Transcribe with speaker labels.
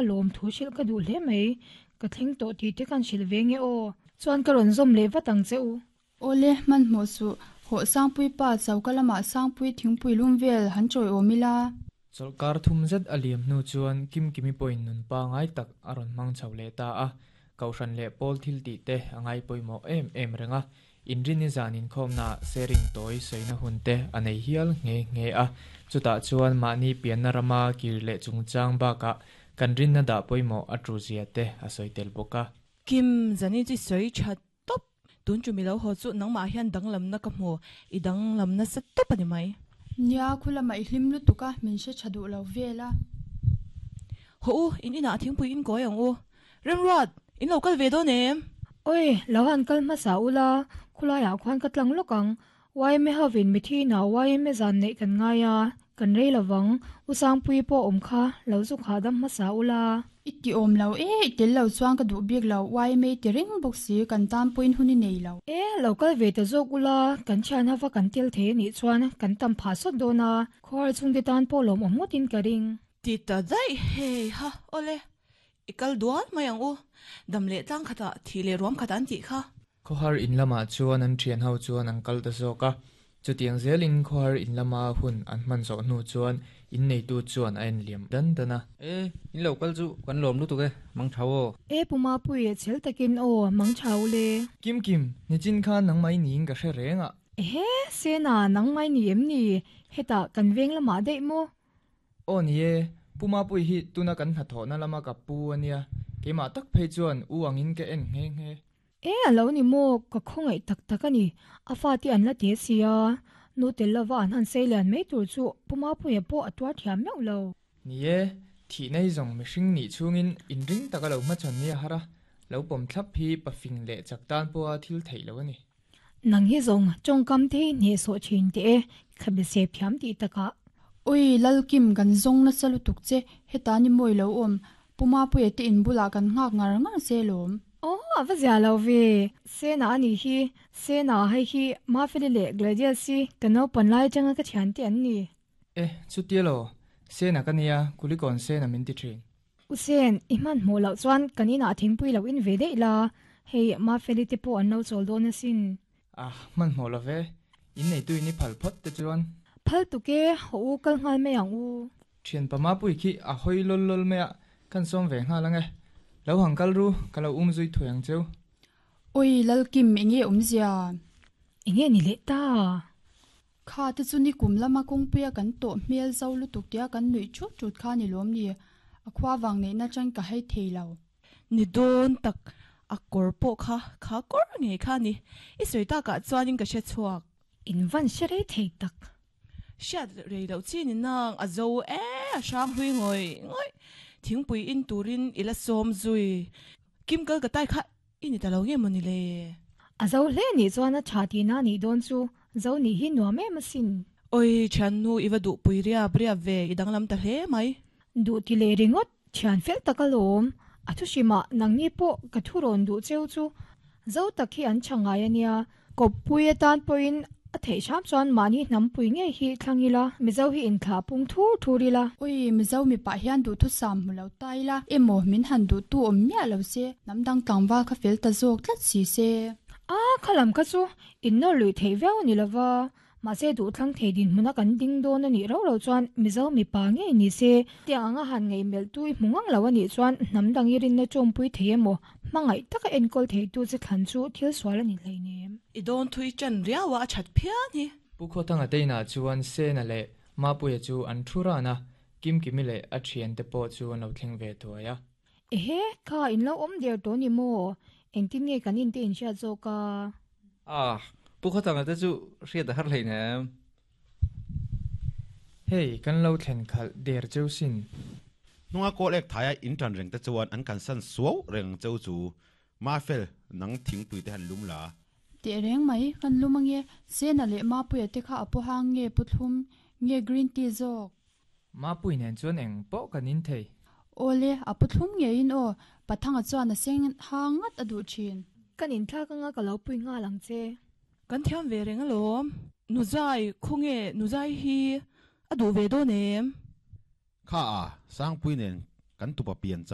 Speaker 1: Lawm thu hrilh ka duh hle mai, ka thleng tawh tih te kan hrilh ve nge aw. Chuan ka rawn zawm leh vat ang che u.
Speaker 2: Awle, hmanhmawh suh, hawh Sangpui pa choka lamah Sangpui thingpui lum vel han chawiawm ila.
Speaker 3: Chawlhkar thum zet a liam hnu chuan Kimkimi pawhin nun pangai tak a rawn hmang chho leh ta a, Kohhran leh pawl thil tih te a ngai pawimawh em em reng a, Inrini zan inkhawmnaah sharing tawi sawina hun te a nei hial nghe nghe a, chutah chuan mahni pianna rama kir leh chungchang bakah kan rinna dah pawimawh a tu zia te a sawi tel bawk a.
Speaker 4: Kim, zani chi sawi tha tawp. Tun chu milo haw chu nangmah hian danglamna ka hmu, i danglam nasa tawp a ni mai.
Speaker 2: Nia, khulama i hlim lutuk a, min hre tha duh lo vel a.
Speaker 4: Haw u, in inah thingpui in kawi ang u. Remruat, in lo kal ve dawn em?
Speaker 1: Oi, lo han kal hmasa ula, khulaiah khuan ka tlang lawk ang. Yma hovin mithi inah yma zan neih kan ngai a, kan rei lovang. U Sangpuii pawh awm kha, lo zuk hahdam hmasa ula.
Speaker 2: I ti awm lo e, i tel lo chuan ka duh bik lo, yma ti reng bawk si, kan tan pawhin hun i nei lo.
Speaker 1: E, lo kal ve ta zawk ula, kan thian hova kan tel thei anih chuan kan tam phah sawt dawn a, khuar chhungte tan pawh lawmawm ngawtin ka ring.
Speaker 4: Ti ta daih, hei ha, awle. I kal dual mai ang u, dam leh tlang khatah thih leh ruam khat an tih kha.
Speaker 3: Khawhar in lamah chuan an thian ho chuan an kal ta zawk a, chutiang zelin khawhar in lama hun an hman zawh hnu chuan inneitu chuan a en liam dan dan a.
Speaker 5: E, in lo kal chu kan lawm lutuk e, mang thau aw.
Speaker 1: E Pu Mapui, chhel takin aw, mang thau le.
Speaker 3: Kim Kim, nichin khan nangmah i niin ka hre reng a.
Speaker 1: Ehe, Sena, nangmah i ni em ni? Hetah kan veng lamah daih maw?
Speaker 3: Aw ni e, Pu Mapui hi tuna kan hnathawhna lama ka pu a nia, keimah tak phei chuan u angin ka en nghe nghe.
Speaker 1: E a lo ni maw, ka khawngaih tak tak a ni, a fate an la te si a, nu tel lova an han sei lian mai tur chu Pu Mapuia pawh a tuar thiam meuh lo.
Speaker 3: Ni e, thih nei zawng mihring nih chhungin inring taka lo hmachhawn ni a har a, lo pawm thlap hi pafing leh chak tan pawha thil theih lo a ni.
Speaker 1: Nang hi zawng tawngkam te hi hnehsawh thin teh e, khabe sep thiam tih takah.
Speaker 2: Ui, Lalkim, kan zawng nasa lutuk che, heta ni mawi lo awm, Pu Mapuia te in bulah kan nghak ngar ngar che lawm.
Speaker 1: Aw, a va zia lo ve. Sena a nih hi, Sena hei hi Mafeli leh Gladius hi ka naupan lai atanga ka thiante an ni.
Speaker 3: E, chutia lo, Sena ka nia, Kulikawn Sena min ti thin.
Speaker 1: U Sen, i hmanhmawh loh chuan kan inah thingpui lo in ve daih la, hei Mafeli te pawh an lo chawl dawn asin.
Speaker 3: Ah, hmanhmawh lo ve, in neitu in i phal phawt te chuan.
Speaker 1: Phal tuk e, haw u kal nghal mai ang u.
Speaker 3: Thianpa Mapui khi a hawi lawl lawl mai a, kan sawm ve nghal ang e. Lo hang kal ru, ka lo um zui thuai ang cheu.
Speaker 2: Oi, Lalkim, enge awmzia?
Speaker 1: Enge ni leh ta?
Speaker 2: Kha te chu nikum lama kawngpuia kan tawh hmel zo lutuk tia kan nuih thut thut kha ni lawm ni? A khua vang neihna chang ka hai thei lo.
Speaker 4: Ni dawn tak, a kawr pawh kha kha kawr ngei kha a ni. I sawi takah chuanin ka hre chhuak.
Speaker 1: In van hre rei thei tak.
Speaker 4: Hriat rei loh chi ni nang, a zo e, a hrang hlui ngawih ngawih. Thingpui in turin i la sawm zui. Kim kal ka tai kha I ni ta lo nge maw ni le?
Speaker 1: A zo hle nih chuan a tha tihna nih dawn chu, zo nih hi nuam em asin.
Speaker 4: Oi, thiannu i va duhpui riap riap ve, i danglam ta hle mai.
Speaker 1: Duh ti leh ringawt, thian fel tak alawm. A thu hrimah nangni pawh ka thu rawn duh cheu chu zo tak hi an tha ngai a nia. Kawppui atan pawhin a theih hram chuan mahni hnampui ngei hi thlang ila, Mizo hi inthlah pung thur thur ila.
Speaker 2: Ui, Mizo mipa hian duhthusam hmu lo ta ila, emaw min han duhtu awm miah lo se, hnam dang tlangval kha fel ta zawk tlat si se.
Speaker 1: A, khalam kha chu innawr luih theih viau a ni lova, Mahse duhthlang thei dinhmuna kan ding dawn a nih rauh loh chuan Mizo mipa ngei ni se, tiang anga han ngaihmelh tu i hmu ngang lo a nih chuan hnam dang i rinna tawmpui thei emaw, hmangaih taka enkawl theitu che thlan chu thil sual a ni hleinem.
Speaker 4: I dawn thui ṭan riau a, a ṭhat phian hi.
Speaker 3: Pu Khawthanga te inah chuan Sena leh Mapuia chu an thu ran a, Kimkimi leh a ṭhiante pawh chu an lo thleng ve thuai a.
Speaker 1: Ehe, kha in lo awm der tawh ni maw? Engtin nge kan inte inhriat zawk a?
Speaker 5: Ah, Pu Khawthanga te chu hriat a har hleinem.
Speaker 3: Hei, kan lo thlen khalh der cheu sin.
Speaker 6: Hnunga kawl ek thaia in tan reng te chuan an kan san suau reng cheu chu. Mafel, nang thingpui te han lum la.
Speaker 2: Teh reng mai, kan lum ange. Sena leh Mapuia te kha a pawhang nge Pu Thlum, nge green tea zawk?
Speaker 3: Mapui nen chuan eng pawh kan in thei.
Speaker 2: Awle, a pu thlum ngeiin aw, Pathanga chuan a seng hang ngat a duh thin.
Speaker 1: Kan inthlak anga ka lo pui nghal ang che.
Speaker 4: Kan thiam ve reng alawm. Nuzai, khawnge Nuzai hi a duh ve dawn em?
Speaker 6: Kha a, Sangpui nen. Kan tupa piancham.